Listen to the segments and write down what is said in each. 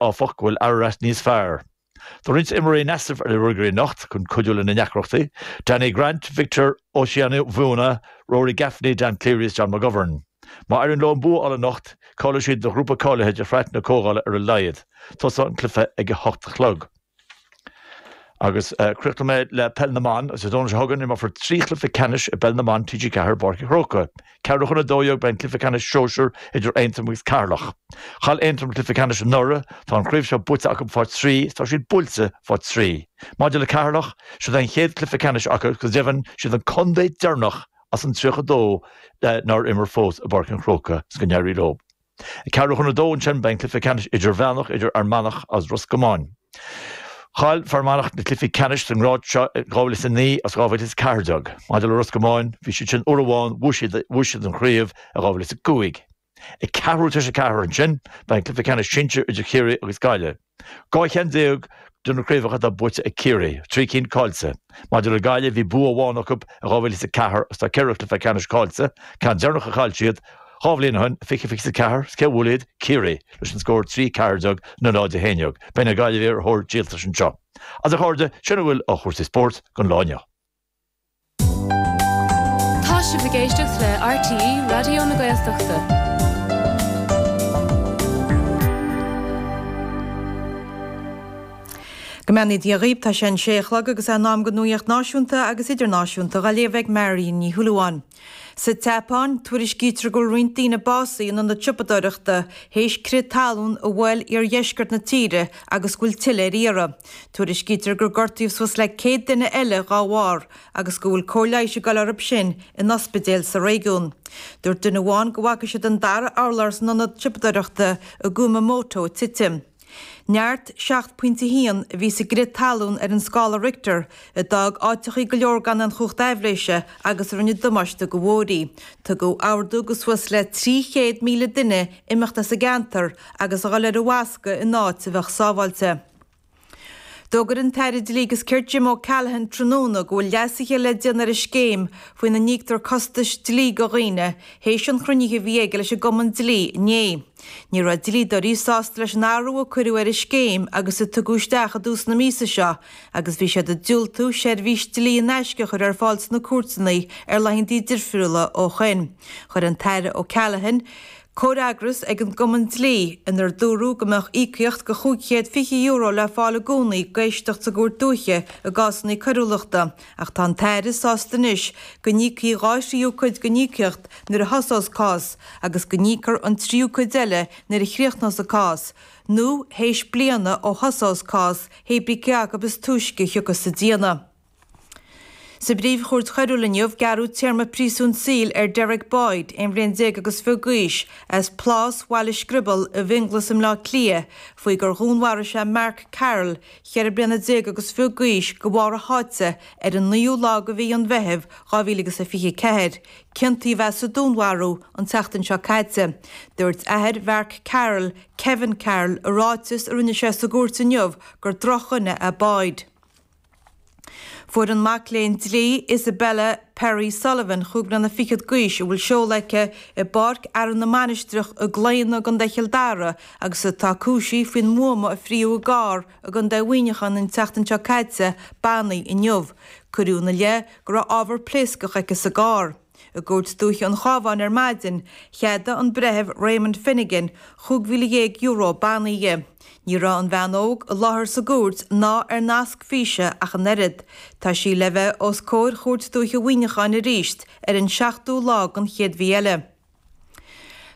áfach, go bhfuil Ararat níos fearr. Tá roinnt imreoirí in easnamh ar na Ruagairí anocht chun cuidiú lena ndeacrachtaí, Danny Grant, Victor Osimhen, Rory Gaffney, Dan Cleary is John McGovern. Má éiríonn leo an bua a fháil anocht, cáileoidh siad do ghrúpa cáilithe de shraith na Comhdhála ar a laghad. Tosóidh an cluiche ag a 8 a chlog. Agus críochnóidh mé le Peil na mBan. Agus Dé Domhnaigh seo chugainn imreofar 3 chluiche ceannais i bPeil na mBan TG4 i bPáirc an Chrócaigh. Ceathrú chun 12 beidh an cluiche ceannais sóisir idir Aontroim agus Ceatharlach. Chaill Aontroim an cluiche ceannais anuraidh. Tá an chraobh seo buaite acu fá thrí is tá siad buailte fá thrí. Maidir le Ceatharlach, siod é an chéad chluiche ceannais acu agus go deimhin siad an contae deireanach as an 32 nár imir fós i bPáirc an Chrócaigh is go n-éirí leo. Ag ceathrú chun a dó ansin beidh an cluiche ceannais idirmheánach idir Fhear Manach agus Ros Comáin. Chaill Fear Manach na cluichí ceannais sa ngrád seo i 2009 agus 2014. Maidir le Ros Comáin, bhí siad sin uair amháin, bhuaigh siad, bhuaigh siad an chraobh i 2005. Ag ceathrú tar éis a ceathair ansin beidh an cluiche ceannais sinsir idir Chiarraí agus Gaillimh. 12 cheann de na craobhacha atá buaite ag Ciarraí, 3 cinn caillte. Maidir le Gaillimh, bhí bua amháin acu i 2004 agus tá 4 chluiche ceannais caillte, ceann deireanach a chaill siad dhá bhliain ó shin, 2024, is cé a bhuail iad? Ciarraí, leis an scór 3 14 no 0 11. Beidh na Gaillimhigh ar thóir díoltais anseo. Agus a chairde, sin a bhfuil ó chúrsaí spóirt don lá inniu. Tá sibh ag éisteacht le RTÉ Raidió na Gaeltachta. Go mbeannaí Dia dhaoibh, tá sé an sé a chlog agus é in am don nuaíocht náisiúnta agus idirnáisiúnta dhá léamh ag Marion Ní Shúilleabháin. Sa tSeapáin, tuairiscítear go bhfuil roinnt daoine básaithe in ionad siopadóireachta théis crith talún a bhuail iardheisceart na tíre agus go bhfuil tuilleadh ar iarraidh. Tuairiscítear gur gortaíodh suas le 100 duine eile dhá bharr agus go bhfuil cóir leighis ag dul orthu sin in ospidéil sa réigiún. Dúirt duine amháin go bhfaca siad an dara urlár san ionad siopadóireachta i gKumamoto ag titim. Neart 7.1 a bhí sa gcrith talún ar an scála Richter, a d'fhág áiteachaí go leor gan aon chumhacht aibhléise agus a rinne damáiste do bhóithrí. Tugadh ordú go suas le 300,000 duine imeacht as an gceantar agus a dhul ar an bhfoscadh in áit a bheadh sábháilte. D'fhógair an tAire Dlí agus Cirt Jim O'Callaghan tráthnóna go bhfuil leasuithe le déanamh ar an scéim faoina n-íoctar costais dlí go dhaoine théis an chruinnithe a bhí aige leis an gCumann Dlí inné. Ní raibh dlíodóirí sásta leis an athrú a cuireadh ar an scéim agus a tugadh isteach i dtús na míosa seo agus bhí siad ag diúltú seirbhís dlí in aisce a chur ar fáil sna cúirteanna ar laethanta difriúla ó shoin. Chuir an tAire O'Callaghan comhfhreagras ag an gCumann Dlí inar dúradh go mbeadh íocaíocht de €520 le fáil i gcónaí d'éisteacht sa gCúirt Dúiche i gcásanna coiriúlachta ach tá an tAire sásta anois go n-íocfaí dhá thríú cuid den íocaíocht nuair a thosós cás agus go n-íocfar an tríú cuid eile nuair a chríochnós an cás nó théis bliana ó thosós cás hé brí cé acu is túisce a thiocfas sa déanamh. Sa bPríomh-Chúirt Choiriúil inniu, gearradh téarma príosúin saoil ar Derek Boyd, 11 bhliain agus fiche d'aois, as Plás Bhaile Screaball i bhFionnghlas i mBleá Cliath, faoi gur dhúnmharaigh sé Mark Carroll, 14 bliana agus fiche d'aois, de bharr a sháite ar an naoú lá de mhí an Mheithimh 2024. Ciontaíodh é sa dúnmharú an tseachtain seo caite. Dúirt athair Mhark Carroll, Kevin Carroll, i ráiteas a rinne sé sa gcúirt inniu gur drochdhuine é Boyd. Fuair an mac léinn dlí Isabella Perry Sullivan, chúig bliana fichead d'aois, a bhfuil seoladh aici i bPáirc Fhearann na Mainistreach i gClaonadh i gContae Chill Dara agus atá cúisithe faoin mbuama a frítheadh i gcarr i gContae Mhuineacháin an tseachtain seo caite, bannaithe inniu. Cuireadh ina leith go raibh ábhar pléascach aici sa gcarr. I gCúirt Dúiche an Chabháin ar maidin, cheadaigh an Breitheamh Raymond Finnegan €15,000 bannaí di. Ní raibh an bhean óg i láthair sa gcúirt ná ar nasc físe ach an oiread. Tá sí le bheith os comhair Chúirt Dúiche Mhuineacháin arís ar an seachtú lá den chéad mhí eile.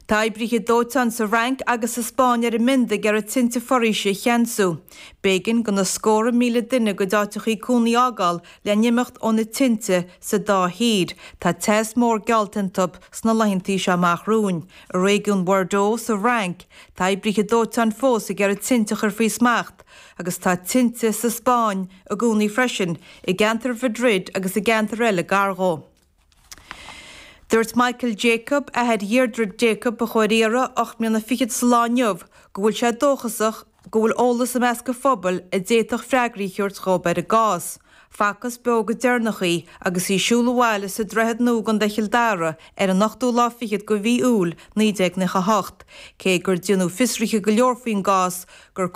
Tá oibrithe dóiteáin sa Fhrainc agus sa Spáinn ar a mbind ag iarraidh tinte foraoise a cheansú. B'éigean do na scórtha míle duine a gcuid áiteachaí cónaí a fhágáil le n-imeacht ó na tinte sa dá thír. Tá teas mór geallta iontu sna laethantaí seo amach romhainn. I réigiún Bhordeaux sa Fhrainc, tá oibrithe dóiteáin fós ag iarraidh tinte a chur faoi smacht agus tá tinte sa Spáinn i gcónaí freisin, i gceantar Mhadrid agus i gceantair eile gar dhó. Dúirt Michael Jacob, athair Dheirdre Jacob a chuaigh ar iarraidh, 8 mbliana fichead sa lá inniu, go bhfuil sé dóchasach go bhfuil eolas i measc an phobail a d'fhéadfadh freagraí a thabhairt dhóibh ar an gcás. Facthas beo go deireanach í agus í ag siúl abhaile sa Droichead Nua i gContae Chill Dara ar an ochtú lá fichead de mhí Iúil 1998, cé gur déanadh fiosruithe go leor faoin gcás gur.